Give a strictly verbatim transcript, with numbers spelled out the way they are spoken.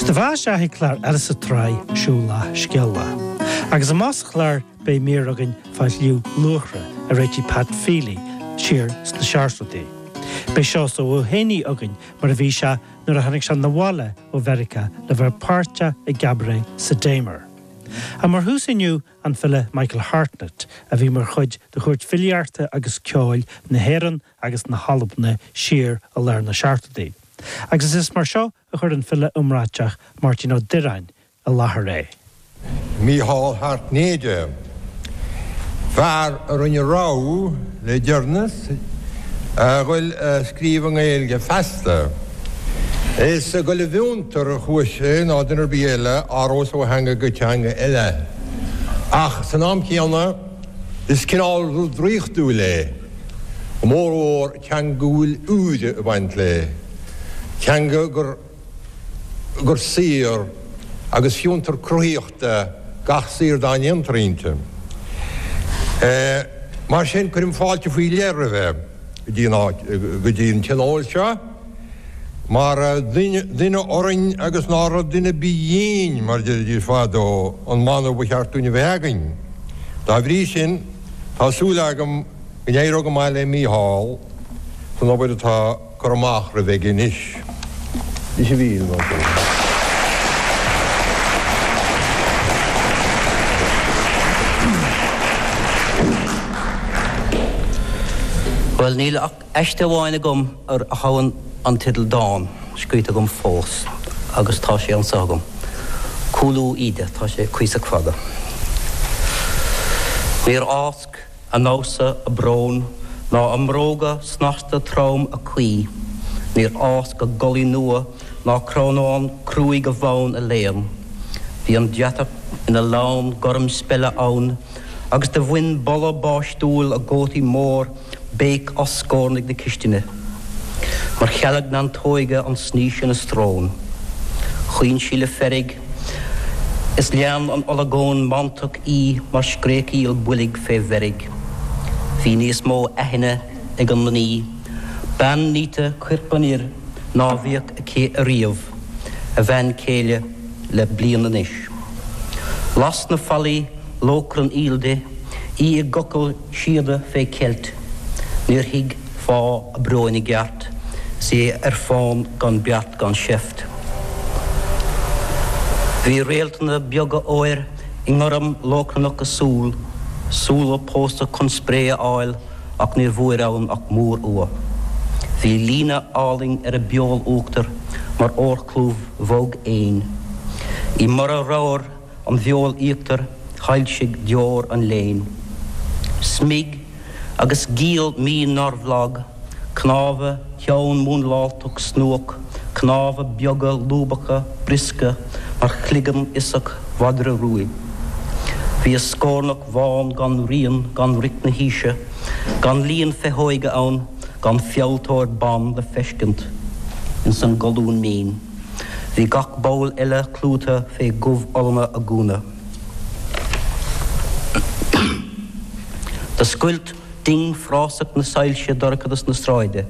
Do bha sé clár eile sa tsraith Siúil Lá Scéal Lá. Agus amach sa chlár beidh mír againn fá Chliú Luachra a réitigh Pat Feely siar sna seachtóidí. Beidh Seosamh Ó Héanaí againn mar a bhí sé nuair a tháinig sé 'na bhaile ó Mheiriceá le bheith páirteach i gcabaret sa Damer. A mar thús inniu an file Michael Hartnett a bhí mar chuid de chúirt filíochta agus ceoil na hÉireann agus na hAlban siar i lár na seachtóidí. Agus is mar seo a chuir an file iomráiteach Máirtín Ó Direáin i láthair é. Mícheál Hairtnéide. Fear a rinne rogha le deireanas a dhul ag scríobh i nGaeilge feasta. Is ag dul i bhfiontar a chuaigh sé ná duine ar bith eile aros ó theanga go teanga eile. Ach san am céanna is cineál rud draíochtúil é, go mórmhór teanga go bhfuil úire ag baint léi, teanga gur gur saor agus fiontar cruthaíochta gach saor dá ndéantar inti. Mar sin cuirim fáilte faoi leith roimhe go dtí an áit go dtí an tionól seo, mar duine orainn agus ná raibh duine ar bith dhínn, mar a deiridís fadó, an mana ba cheart dúinn a bheith againn. Dá bhrí sin, tá súil agam go n-éireoidh go maith le Mícheál san obair atá curtha amach roimhe aige anois. Is a mhíle mar sin. Bhuel, níl ach aiste amháin agam a ghabhann an teideal dán scríte agam fós agus tá sé anseo agam. Cúlú Íde, tá sé cuíosach fada. Níor fhásc a ndamhsa a brón ná a mbróga snasta trom a croí, níor fhásc a gculaith nua ná crónán cruaidh a bhonn a léan. Bhí an deatach ina lann gorm speile ann agus do bhain boladh báistiúil a gcótaí mór béic as scornaigh na cistine. Mar chealg neantóige an snaois ina srón. Chaoin sí le feirg is lean an olagón mantach í mar scréachaíl boilg fé mheirg. Bhí níos mó aithne ag an mnaoi, bean nite coirp an fhir, ná bhíodh aici ariamh, a bhean chéile le bliain anois. Las na fallaí lóchrann aoil di, í i gcochall síoda fé cheilt. Níor thuig fáth a bróin i gceart, 's í ar fán gan beart gan seift. Bhí réaltanna beaga óir i ngorm lóchrannach a súl, súile pósta chun spré a fháil ach níor bhfuair ann ach múr-fhuath. Bhí líne álainn ar a beol uachtair mar órchlúmh bhog éin. I mborradh ramhar an bheoil íochtair shoilsigh deor an léinn. Smig agus giall mín nár bhlag, cnámha, ceann múnláilte snuach, cnámha beaga lúbacha briosca mar chloigeann uiseach mhadra ruaidh. Bhí a scornach bhán gan rian gan riocht na haoise, gan líon féitheoige ann, gan fealltóir ban le feiscint ins an gcolún mín. Bhí gach ball eile clúdaithe fé dhubh-ollanna a gúna. Do scoilt ding frásach na soilse dorchadas na sráide.